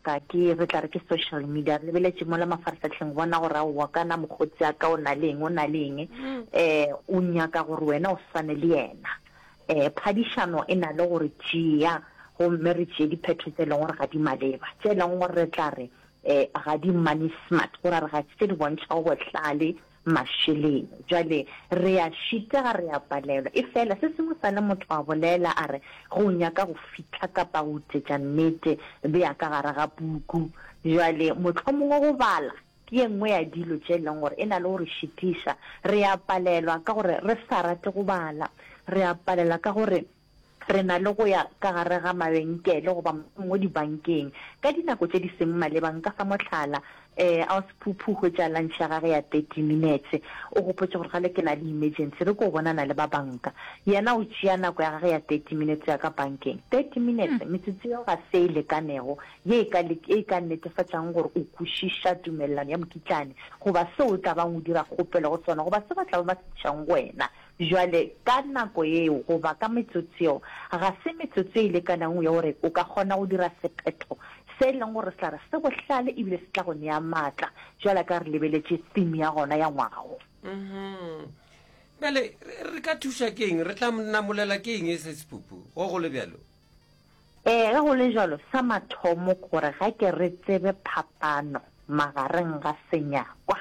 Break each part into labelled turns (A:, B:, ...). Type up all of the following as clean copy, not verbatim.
A: sebaka ke, re tla re ke social media, re lebeletše mola mafarahlahleng go bona gore aowa kana mokgotsi a ka o na le eng, o na le eng, um o nyaka gore wena o swane le yena. Um phadišano e na le go re tšea gomme re tšee diphetho tše e leng gore ga di maleba, tše e leng gore re tla re um ga di money smart, go ra re ga se tše di bontšhago bohlale mašeleng. Bjale re a šitega, re a palelwa. Efela se sengwe sa le motho a bolela a re, Ge o nyaka go fihla kapa go utetša nnete, bea ka gare ga puku. Bjale mohlomongwe go bala ke ye nngwe ya dilo tše e leng gore e na le go re šitiša. Re a palelwa ka gore re sa rate go bala. Re a palelwa ka gore re na le go ya ka gare ga mabenkele goba mohlomongwe dibankeng ka dinako tše di seng maleba. Nka fa mohlala, um Ausi Phuphu o hwetša lunch ya gage ya 30 minutes, o gopotše gore gale ke na le emergency, re ko bonana le ba banka. Yena o tšea nako ya gage ya 30 minutes ya ka bankeng. 30 minutes, metsotso yeo ga se e lekanego ye e ka, e ka netefatšang gore o kwešiša tumelelano ya mokitlane goba seo o tla bang o dira kgopelo go sona goba se ba tla bang ba se tlišang go wena. Bjale, ka nako yeo, goba ka metsotso yeo, ga se metsotso e lekanago ya gore o ka kgona go dira sephetho se e leng gore se tla re se bohlale ebile se tla go nea matla, bjalo ka re lebeletše theme ya gona ya ngwaga wo.
B: Bjale, re ka thuša ke eng? Re tla namolela ke eng se sephuphu, go go le bjalo?
A: Ee, ge go le bjalo, sa mathomo ke gore ga ke re tsebe phapano magareng ga senyakwa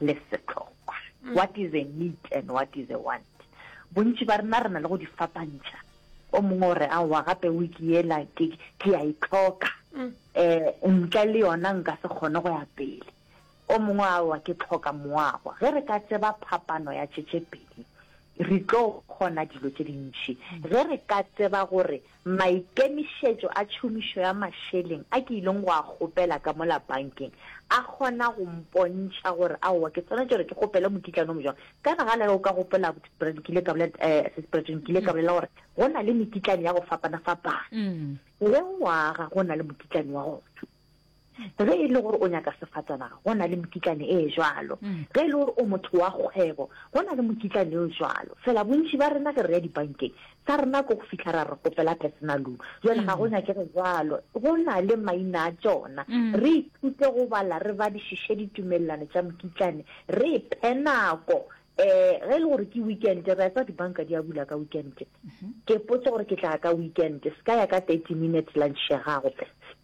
A: le sehlokwa. What is a need and what is a want? Bontši ba rena re na le go di fapantšha. O mongwe o re, aowa, gape wiki yela ke, ke a e hloka. Um ntle le yona nka se kgone go ya pele. O mongwe, aowa, ke hloka moago. Ge re ka tseba phapano ya tše tše pedi, re tlo kgona dilo tše dintši. Ge re ka tseba gore Maikemišetšo a tšhomišo ya mašeleng a ke ileng go a kgopela ka mola bankeng a kgona go mpontšha gore aowa ke swanetše gore ke kgopele mokitlane o mojwang. Kana gale ge o ka gopola Brad, ke ile ka bolela, eh, Sis Bradley, ke ile ka bolela gore go na le mekitlane ya go fapana-fapana. Ge o aga go na le mokitlane wa gona. Ge e le gore o nyaka sefatanaga, go na le mekitlane e jwalo. Ge e le gore o motho wa kgwebo, go na le mokitlane o jwalo. Fela bontši ba rena ge re ya dibankeng, sa rena ke go fihla ra re kgopela personal loan. Jwale ga go nyakege jwalo. Go na le maina a tšona. Re ithute go bala, re badišiše ditumelelano tša mokitlane, re iphe nako Eh, ge e le gore ke weekend, re a tseba dibanka di a bula ka weekend. Ke potse gore ke tla ya ka weekend, se ka ya ka 30 minutes lunch ya gago.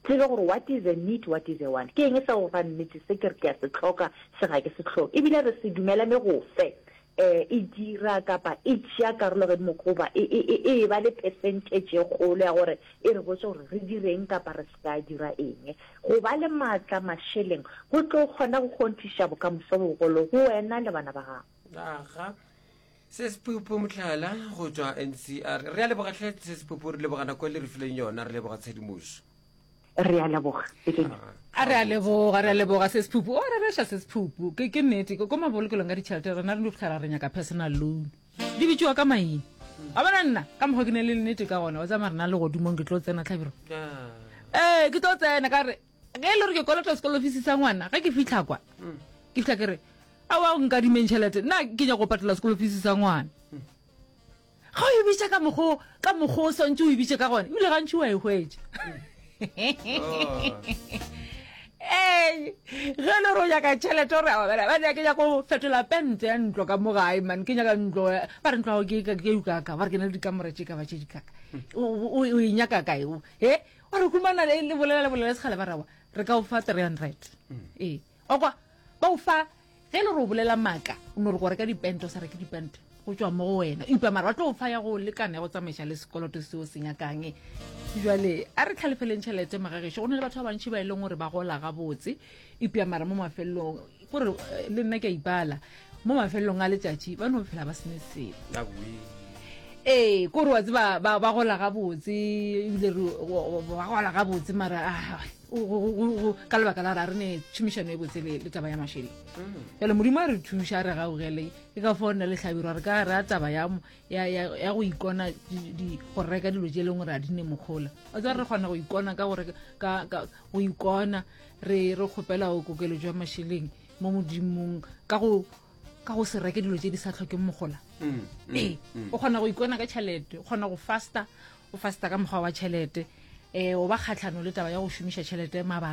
A: Tsebe gore what is a need, what is a want. Ke eng sa go fa nnete, se ke re ke a se hloka, se ga ke se hloke. Ebile re se dumelane go fe eh, e dira kapa e tšea karolo godimo goba e, e, e, e ba le percentage e kgolo ya gore e re botse gore re direng kapa re se ka dira eng. Go ba le maatla mašeleng go tlo kgona go kgonthiša bokamoso bogolo go wena le bana ba gago.
B: Aga. Se Sepupu Mohlala go tšwa NCR. Re a leboga hle Se Sepupu, re leboga nako e le re fileng yona, re leboga tshedimošo.
A: Re a leboga. Bekeng.
C: A re a leboga, re a leboga Se Sepupu. O rereša Se Sepupu. Ke ke nnete, ko mabolokelong a ditšhelete rena re no fitlhela re nyaka personal loan. Di bitšiwa ka maina. Wa bona nna, ka mokgwa ke ne le nnete ka gona, wa tseba mara nna legodimong ke tlo tsena Hlabirwa. Ee, ke tlo tsena ka re ge e le gore ke kolota sekolo fees sa ngwana, ge ke fihla kwa, ke fihla ke re, aowa o nkadimeng tšhelete, nna ke nyaka go patela sekolo fees sa ngwana. Ga o e bitša ka mokgwa ka mokgwa o swantše o e bitše ka gona, ebile gantši wa e hwetša. Ee, ge e le gore o nyaka tšhelete gore ba ke nyaka go fetola pente ya ntlo ka mo gae man ke nyaka ntlo ba re ntlo ya gago ke ke kaka ba re ke na le dikamora tše ka ba tše dikaka o e nyaka kae o e wa re humana le bolela le bolela sekgale ba rawa re ka o fa 300 ee o kwa ba o fa Ge e le gore o bolela maaka, o no re go reka dipente o sa reke dipente, go tšwa mo go wena. Eupša mara ba tlo o fa ya go lekana ya go tsamaiša le sekoloto seo se nyakang. Jwale a re tlhalefeleng tšhelete magagešo. Go na le batho ba bantši ba e leng gore ba gola gabotse, eupša mara mo mafelelong, gore eh, le nna ke a ipala, mo mafelelong a letšatši ba no phela ba se ne selo. Ee, kore wa tseba ba ba gola gabotse ebile ba gola gabotse mara ah, ka lebaka la gore a re ne tšhomišano e botse le taba ya mašeleng mm. jale modimo a re thuša a re gaugele ke ka fao nna le hlabirwa re ka re a taba ya go ikona go reka dilo tše e leng gore a di ne mokgola o tseba re kgona go ikona ka go ikona re re kgopela go kokeletšo ya mašeleng mo modimong ka go ka go se reke dilo tše di sa tlhokeng mogola mm, mm, ee mm. o kgona go ikona ka tšhelete o kgona go fasta o fasta ka mokgwa wa tšhelete um o ba kgatlhano le taba ya go šomiša tšhelete mabaka.